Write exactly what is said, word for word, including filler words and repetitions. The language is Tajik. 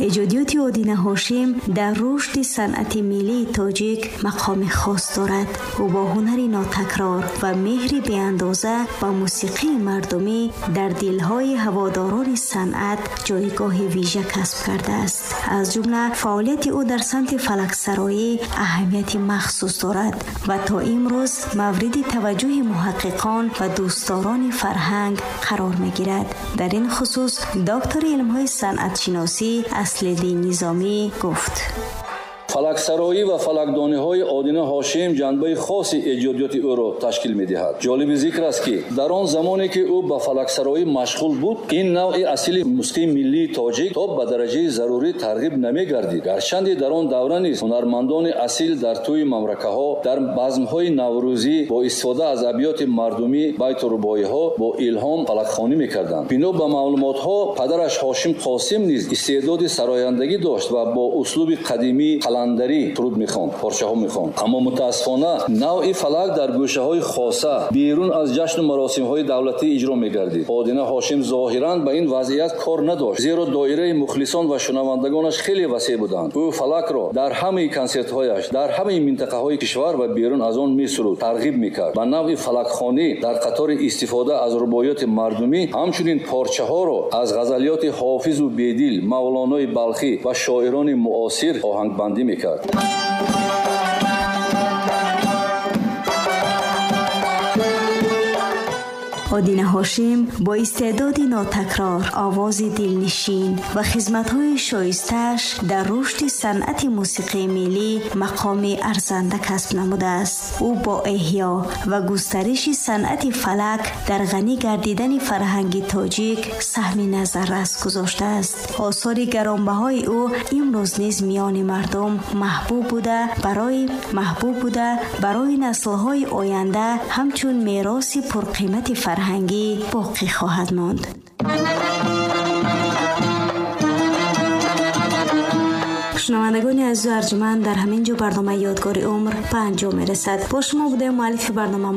Эҷодиёти Одина Ҳошим дар рушди санъати миллии тоҷик мақоми хос дорад. Ӯ бо ҳунари нотакрор ва меҳри беандоза ба мусиқии мардумӣ дар дилҳои ҳаводорони санъат ҷойгоҳи вижа касб кардааст. Аз ҷумла фаъолияти ӯ дар самти фалаксароӣ аҳамияти махсус дорад ва то имрӯз мавриди таваҷҷӯҳи муҳаққиқон ва дӯстдорони фарҳанг қарор мегирад. Дар ин хусус доктори илмҳои санъатшиносӣ Аслиддин Низомӣ гуфт: Фалаксароӣ ва фалакдониҳои Одина Ҳошим ҷанбаи хоси эҷодиёти ӯро ташкил медиҳад. Ҷолиби зикр аст, ки дар он замоне ки ӯ ба фалаксароӣ машғул буд, ин навъи асили мусиқии миллии тоҷик то ба дараҷаи зарурӣ тарғиб намегардид. Гарчанде дар он давра низ ҳунармандони асил дар тӯи мамракаҳо, дар базмҳои наврӯзӣ бо истифода аз абёти мардумӣ, байту рубоиҳо бо илҳом фалакхонӣ мекарданд. Бино ба маълумотҳо, падараш Ҳошим Қосим низ истеъдоди сарояндагӣ дошт ва бо услуби қадимӣ қаландарӣ суруд мехонд, порчаҳо мехонд. Аммо мутаассифона навъи фалак дар гӯшаҳои хоса берун аз ҷашну маросимҳои давлатӣ иҷро мегардид. Одина Ҳошим зоҳиран ба ин вазъият кор надошт, зеро доираи мухлисон ва шунавандагонаш хеле васеъ буданд. Ӯ фалакро дар ҳамаи консертҳояш дар ҳамаи минтақаҳои кишвар ва берун аз он месуруд, тарғиб мекард. Ба навъи фалакхонӣ дар қатори истифода аз рубоиёти мардумӣ ҳамчунин порчаҳоро аз ғазалиёти Ҳофизу Бедил, Мавлонои Балхӣ ва шоирони муосир оҳангбандӣ мекард. Одина Ҳошим бо истеъдоди нотакрор, овози дилнишин ва хизматҳои шоистааш дар рушди санъати мусиқии миллӣ мақоми арзанда касб намудааст. Ӯ бо эҳё ва густариши санъати фалак дар ғанӣ гардидани фарҳанги тоҷик саҳми назаррас гузоштааст. Осори гаронбаҳои ӯ имрӯз низ миёни мардум маҳбуб буда, барои маҳбуб буда барои наслҳои оянда ҳамчун мероси пурқимати фарҳанг фарҳангӣ боқӣ хоҳад монд. Шунавандагони азизу арҷманд, дар ҳамин ҷо барномаи Ёдгори умр ба анҷом мерасад. Бо шумо будем муаллифи барнома